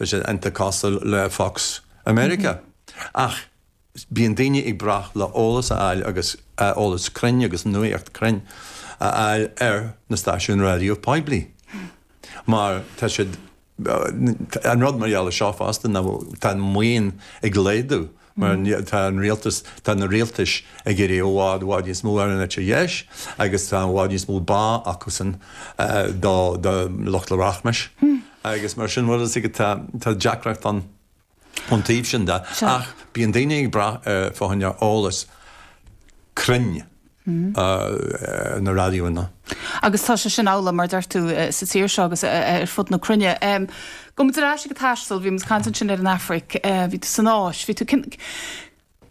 Tá sé iontach cosúil le Fox i Meiriceá. Ach bíonn daoine ag brath le eolas a fháil agus eolas cruinn agus nuaíocht cruinn a fháil ar na stáisiúin raidió poiblí. Mar tá siad, an rud mar gheall ar seo fosta ná tá an maoin ag laghdú mar tá an rialtas, tá na rialtais ag iarraidh i bhfad, i bhfad níos mó ar an eite dheis agus tá i bhfad níos mó bá acusan do, do lucht rachmais agus mar sin, bhfuil a fhios agat, tá, tá deacracht ann ón taobh sin de ach bíonn daoine ag brath ar fá choinne eolas cruinn na raidiónna. Agus tá sé sin amhlaidh, mar a deir tú, sa tír seo agus ar fud na cruinne. Gabhfaidh muid ar ais ag an taisteal, bhí muid ag caint ansin ar an Afraic, bhí tú san Áis, bhí tú, cén,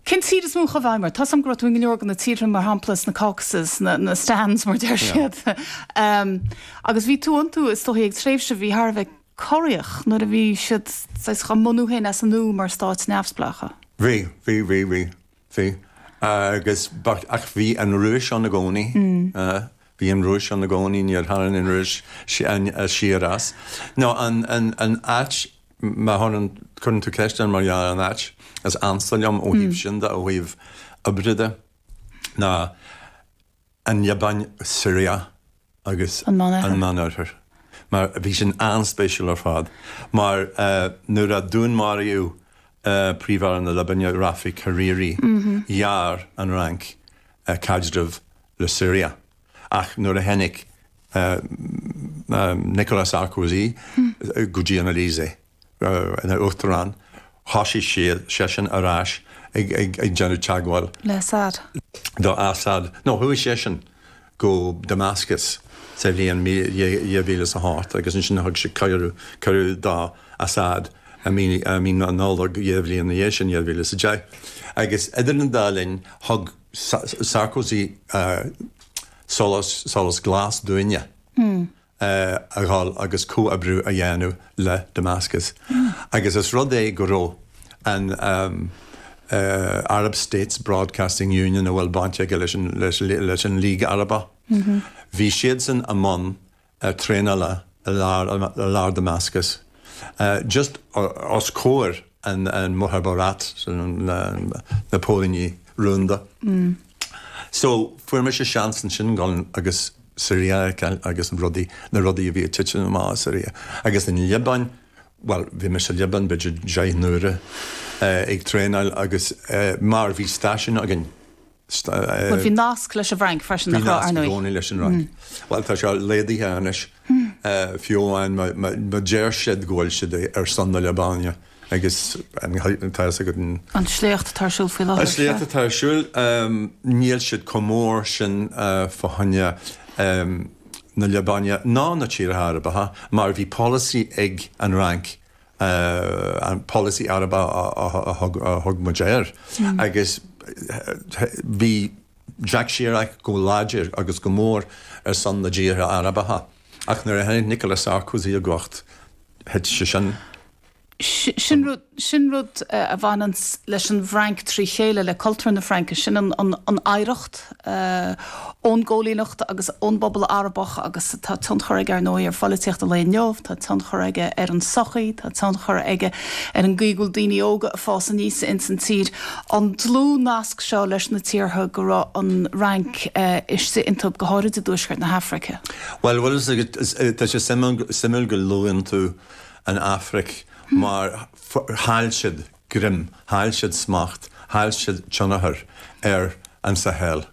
cén tír is mó a chuaigh i bhfeidhm ort? Tá 's agam go raibh tú in go leor de na tíortha, mar shampla, sna Caucasus, na, na stans, mar a deir siad. Agus bhí tú iontu, is dóigh, ag tréimhse a bhí thar a bheith corraitheach, nuair a bhí siad saghas á mbunú féin as an nua mar stáit neamhspleácha. Bhí, bhí, bhí, bhí. Bhí. Agus, but, ach bhí an Rúis ann i gcónaí. Bhí an Rúis ann i gcónaí, níor tharraing an Rúis siar as. Nó an, an, an áit, má chuireann, cuireann tú ceist orm mar gheall ar an áit is ansa liom ó thaobh sin de, ó thaobh oibre de, ná an Liobáin, Siria agus An Meánoirthear. an Meánoirthear. Mar bhí sin an-spéisiúil ar fad. Mar nuair a dúnmaraíodh Príomh-Aire na Liobáine, Rafik Hariri, ghearr an Fhrainc caidreamh le Siria. Ach nuair a tháinig Nicolas Sarkozy go dtí an Élysée, ina uachtarán, thosaigh seisean ar ais ag déanamh teagmháil. Le Assad. Do Assad. No, chuaigh seisean go Damascus sa bhliain 2008 agus ansin thug sé cuireadh, cuireadh do Assad i mí, i mí na Nollag 2 bhliain ina dhiaidh sin, 2010. Agus idir an dá linn, thug Sarkozy solas, solas glas dúinne. a dhul agus comhoibriú a dhéanamh le Damascus. Agus is rud é go raibh an Arab States Broadcasting Union, a bhfuil baint aige leis an League Arabach, bhí siadsan i mbun traenála i lár Damascus, just os comhair an Mukhabarat, na póilíní rúnda. So, fuair mise seans ansin dul agus Siria a fheiceáil agus an rudaí, na rudaí a bhí ag titim amach i Siria. Agus an Liobáin, bhuel, bhí mise sa Liobáin b'fhéidir 10 n-uaire ag traenáil agus mar bhí stáisiún againn. Bhuel, bhí nasc leis an bhFrainc freisin, nach raibh, ar ndóigh? Bhí nasc i gcónaí leis an Fhrainc. Bhuel, tá sé laghdaithe anois, fiú amháin má deir siad go bhfuil siad ar son na Liobáine. Agus tá fhios agat an. An sléacht atá ar siúl faoi láthair. An sléacht atá ar siúl, níl siad chomh mór sin fá choinne na Liobáine ná na tíortha Arabacha mar bhí polasaí ag an Fhrainc, an polasaí Arabach a thug muid air, agus bhí Jacques Chirac go láidir agus go mór ar son na dtíortha Arabacha ach nuair a tháinig Nicolas Sarkozy i gcumhacht thit sé sin. Sin rud, sin rud a bhaineann leis an bhFrainc trí chéile, le cultúr na Fraince, sin an oidhreacht ón gcóilíneacht agus ón bpobal Arabach agus tá tionchar aige ar ndóigh ar pholaitíocht an lae inniu, tá tionchar aige ar an tsochaí, tá tionchar aige ar an gcaoi go bhfuil daoine óga ag fás aníos ins an tír. An dlúthnasc seo leis na tíortha go raibh an Fhrainc istigh iontu, go háirid i dtuaisceart na hAfraice. Bhuel, bhfuil fhios agat, tá sé suimiúil go luann tú an Afraic mar chaill siad greim, chaill siad smacht, chaill siad tionchar ar an Sahel.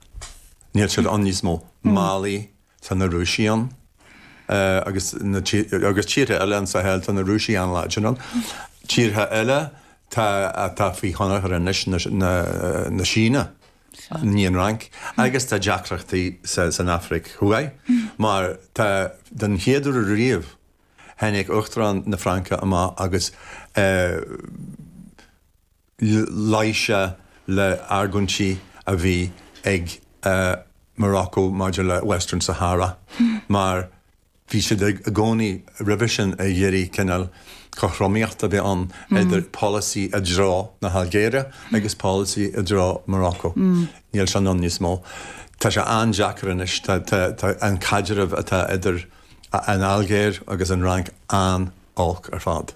Níl siad ann níos mó. Mali, tá na Rúisigh ann agus na agus tíortha eile an Sahel, tá na Rúisigh an-láidir ann. Tíortha eile tá atá faoi thionchar anois na na Síne, ní an Fhrainc. Agus tá deacrachtaí san Afraic Thuaidh mar tá den chéad uair riamh, Tháinig Uachtarán na Fraince amach agus luigh sé le argóintí a bhí ag Morocco maidir le Western Sahara mar bhí siad i gcónaí roimhe sin ag iarraidh cineál cothromaíocht a bheith ann idir polasaí i dtreo na hAilgéire agus polasaí i dtreo Morocco. Níl sin ann níos mó. Tá sé an-deacair anois. Tá an caidreamh atá idir an Ailgéir agus an Fhrainc an-olc ar fad.